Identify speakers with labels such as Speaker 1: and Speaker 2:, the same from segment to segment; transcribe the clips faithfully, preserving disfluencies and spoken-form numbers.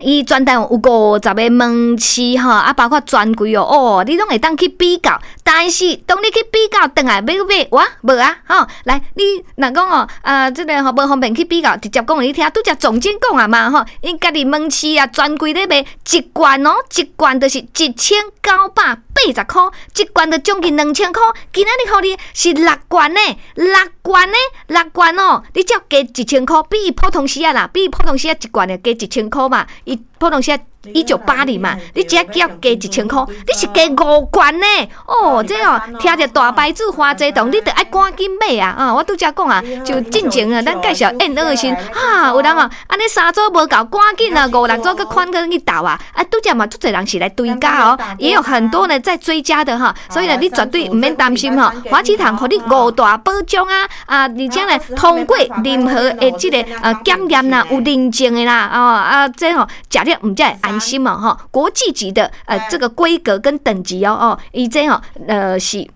Speaker 1: 伊全台灣有五十个門市吼，啊，包括專櫃哦，哦，你攏會當去比較。但是當你去比較，轉來欲買哇無啊，吼，來你若講哦，啊，這个吼無方便去比較，直接講予你聽，拄才總監講啊嘛吼，𪜶家己門市啊專櫃咧賣一罐哦，一罐就是一千九百八十箍，一罐就將近兩千箍。今仔日予你是六罐呢，六罐呢，六罐哦，你才加一千箍，比伊普通時仔啦，比伊普通時仔一罐的加一千箍嘛，伊普通時仔一九八零嘛，你只要加一千箍，你是加五罐呢？哦，這哦，聽著大牌子華濟堂，你著愛趕緊買啊！啊，我拄才講啊，就進前啊，咱介紹燕窩的時，啊，有人哦，按呢三組無夠，趕緊啊，五六組閣款去去鬥啊！啊，拄才嘛，足濟人是來追加哦，也有很多呢在追加的哈，所以呢，你絕對毋免擔心吼。華濟堂予你五大保障啊，啊，而且呢，通過任何的這个呃檢驗啦，有認證的啦，哦啊，這吼食了毋才會安心嘛吼，國際級的呃這個規格跟等級哦哦，伊這吼呃是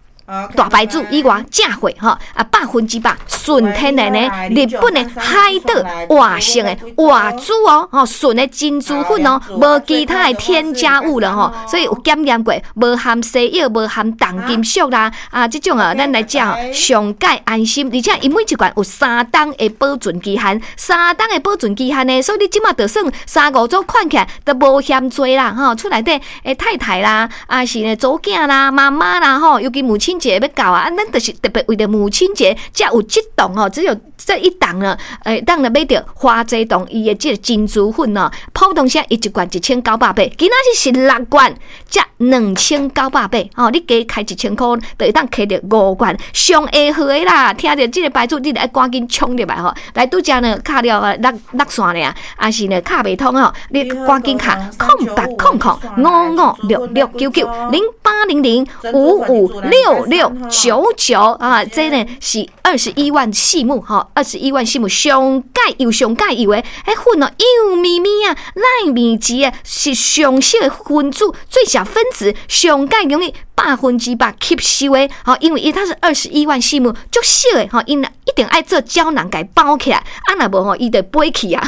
Speaker 1: 大牌子以外正貨吼啊，百分之百純天然的日本的海島活性的活珠哦，吼純的珍珠粉哦，無其他的添加物了吼，所以有檢驗過，無含西藥，無含重金屬啦，啊，這種啊，咱來食上蓋安心，而且伊每一罐有三冬的保存期限，三冬的保存期限呢，所以你這馬就算三五組款起來都無嫌濟啦，吼，厝內底的太太啦，啊是呢查某囝啦、媽媽啦，吼，尤其母親節欲到啊，啊，咱就是特別為著母親節才有這檔吼，只有這一檔呢，會當來買著華濟堂伊的這个珍珠粉哦，普通時伊一罐一千九百八，今仔日是六罐才兩千九百八，吼，你加開一千箍，就會當摕著五罐，上下好的啦。聽著這个牌子，你著愛趕緊衝入來吼，來拄才呢敲了六六線爾，抑是呢敲袂通吼，你趕緊敲空八空空五五六六九九零八零零五五六六九九啊，這呢是二十一萬細目吼，二十一萬細目上蓋油上蓋油的，彼粉哦幼咪咪啊，奈米級啊，是上小的分子，最小分子上蓋容易百分之百吸收的，吼，因為伊它是二十一萬細目，足小的吼，𪜶一定愛做膠囊共伊包起來，啊若無吼，伊就飛去啊，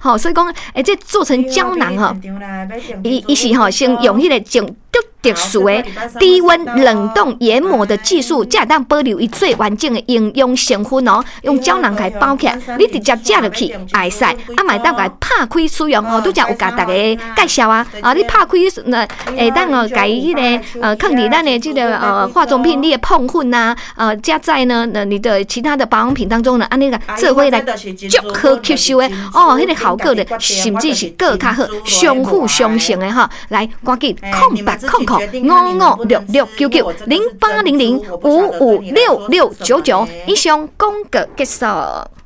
Speaker 1: 吼，所以講，欸，這做成膠囊吼，伊伊是吼先用彼个種足特殊的低溫冷凍研磨的技術，才會當保留伊最完整的營養成分哦。用膠囊共伊包起來，你直接食落去會使，啊嘛會當共伊拍開使用吼。拄才有共大家介紹啊，啊你拍開那會當哦，共伊彼个呃，放佇咱的這个呃化妝品，你的膨粉啊，呃加在呢，呃你的其他的保養品當中呢，按呢個做伙來足好吸收的哦，彼个效果咧，甚至是閣較好，相輔相成的吼。來，趕緊空八空空五五六六九九零八零零五五六六九九，以上廣告結束。